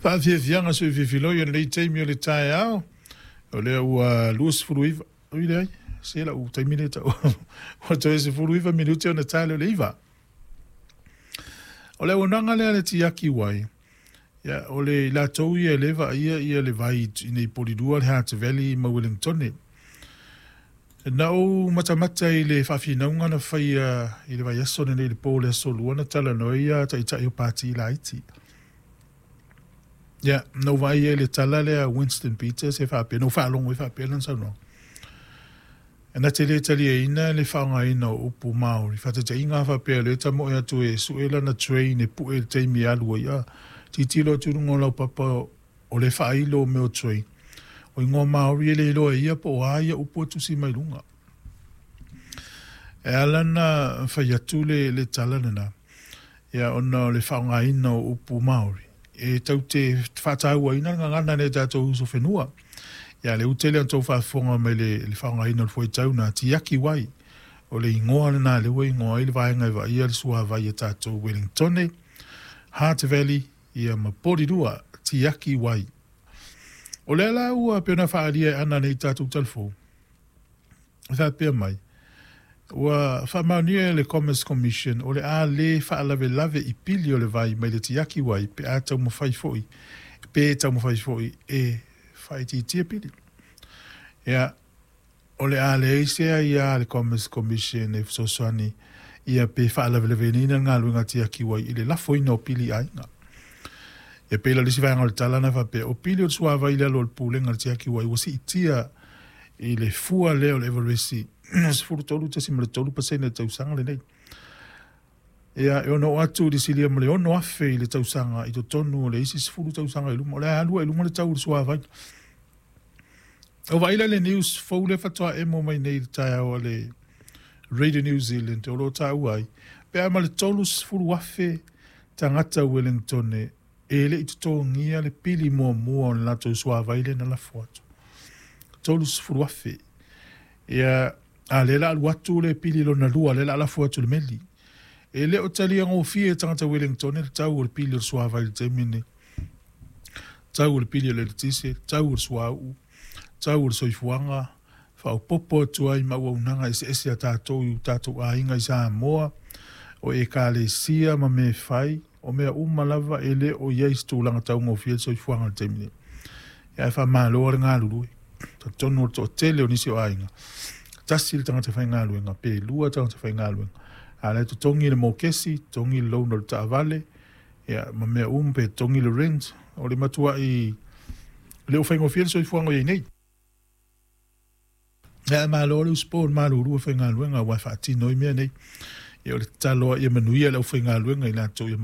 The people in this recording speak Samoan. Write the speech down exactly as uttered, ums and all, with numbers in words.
Faafiafiaga soifiafiloi o lenei taimi o le taeao. O lea ua luasefulu iva, ui leai, se lau taimi lea tau ua toe sefulu iva minute ona ta lea o le iva. O le auaunaga lea a le Tiaki Wai, ia, o le i latou ia e le vaaia ia le vai i nei Polilua, le Hutt Valley ma Wellingtone. Na ou matamata i le faafinauga na faia i le vaiaso lenei i le po o le aso lua na talanoa ai ia taitai o Pati Laiti. Ia, na ou vaai ai i le tala lea a Winston Peters e faapea, na ou faalogo ai faapea lana saunoaga. E na te le taliaina le faaaogaina o upu Māori. Faataitaiga a faapea o lea e tamoe atu e sue lana train e pue i le taimi e alu ai, a tilotilo atu i luga o laupapa o le faailo o mea o train. O ingoa Māori e le iloa e ia po o a ia upu e tusi mai luga. E ala ona fai atu le, le tala lena, ia ona o le faaaogaina o upu Māori. E tau te faatauaina le gagana nei tatou uso whenua. Ia le utele o tou faafofoga mai le, le faaaogaina o le fuaitau na Tiaki Wai. O le igoa lena lea ua igoa ai le vaega e vaaia le suavai e tatou Wellingtone, Hutt Valley, ia ma Polilua, Tiaki Wai. O lea la ua pei ona faaalia e Ana nei tatou talafou, e faapea mai, ua faamaonia e le Commerce Commission o le a le faalavelave i pili o le vai mai le Tiaki Wai pe a taumafai foi, pe taumafai foi e faaitiitia pili. Ia, o le a leai se aia a le Commerce Commission e fesoasoani ia pe faalavelaveina le galuega Tiaki Wai i le lafoina o pili i aiga. E pei la le isi vaega o le tala na faapea, o pili o le suavai i le alo o le pulega o le Tiaki Wai ua siitia i le fua lea o le Everesi sefulu tolu tesima le tolu pasene i le tausaga lenei. Ia, e ono oo atu i le silia ma le ono afe i le tausaga i totonu o le isi sefulu tausaga i luma. O le a alu ai i luga le tau o le suavai. O vaai la le news fou lea faatoa emo mai nei i le taeao a le Radio New Zealand o lo o taua ai, pe a ma le tolu afe tagata Wellingtone e le i totogia le pili muamua o le latou suavai lea na lafo atu. tolu afe. Ia, a lea la alu atu le pili lona lua, lea la lafo atu le meli. E le o talia gofie e tagata Wellingtone le tau o le pili o le suavai i le taimi lenei. Tau o le pili o le eletise, tau o le suauu, tau o le soifuaga, faaopoopo atu ai ma auaunaga eseese a tatou i tatou aiga i Samoa, o ekalesia ma mea e fai, o mea uma lava e le o i ai se tulaga taugofie le soifuaga i le taimi nei. Ia ae faamalo le galulue. Talitonu o le toatele o nisi o aiga, tasi le tagata faigaluega, pe lua tagata faigaluega. A la e totogi le mokesi, totogi le loan o le taavale, ia ma mea uma pe totogi le rent, o le matuai le o faigofie le soifuaga o i ai nei. Ia malo le usupo le malulu e faigaluega aua e faatino ai mea nei. Ia o le tatalo ia manuia le aufaigaluega i latou ia